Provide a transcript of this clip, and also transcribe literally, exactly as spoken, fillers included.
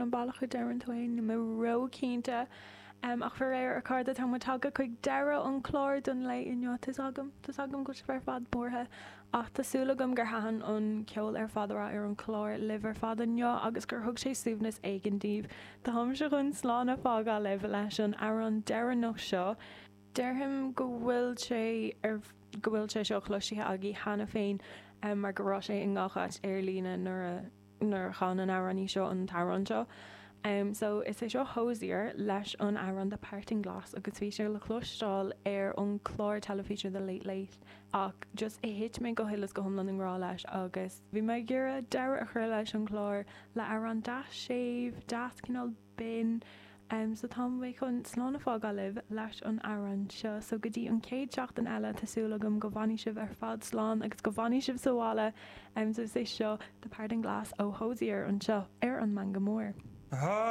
an bealach a deireann tú é, níl mé ró-chinnte. Um, ach faraor a chairde tá muid tagtha chuig deireadh an chlár don lae inniu tá's agam Tá's agam go bhfuil sibh ar fad buartha ach tá súil agam gur thaitin an ceol ar fad a raibh ar an chlár libh ar fad inniu agus gur thug sé suaimhneas éigin daoibh. Táimse chun slán a fhágáil libh leis an amhrán deireanach seo. Déarfainn go bhfuil sé ar go bhfuil sé seo cloiste agaibh cheana féin um, mar go raibh sé i ngach áit ar líne nuair a nuair a chan an amhránaí seo an t-amhrán seo. Um, so is é seo Hozier leis an amhrán The Parting Glass agus bhí sé le cloisteáil ar an chlár teilifíse The Late Late ach just thit mé go huile is go hiomlán i ngrá leis agus bhí mé ag iarraidh deireadh a chur leis an chlár le amhrán deas séimh deas cineál binn Um, so tá mé chun slán a fhágáil libh leis an amhrán seo, so go dtí an chéad seachtain eile tá súil agam go bhfanfaidh sibh ar fad slán agus go bhfanfaidh sibh sa bhaile um, so is é seo The Parting Glass ó Hozier anseo ar an Meangadh Mór. Ah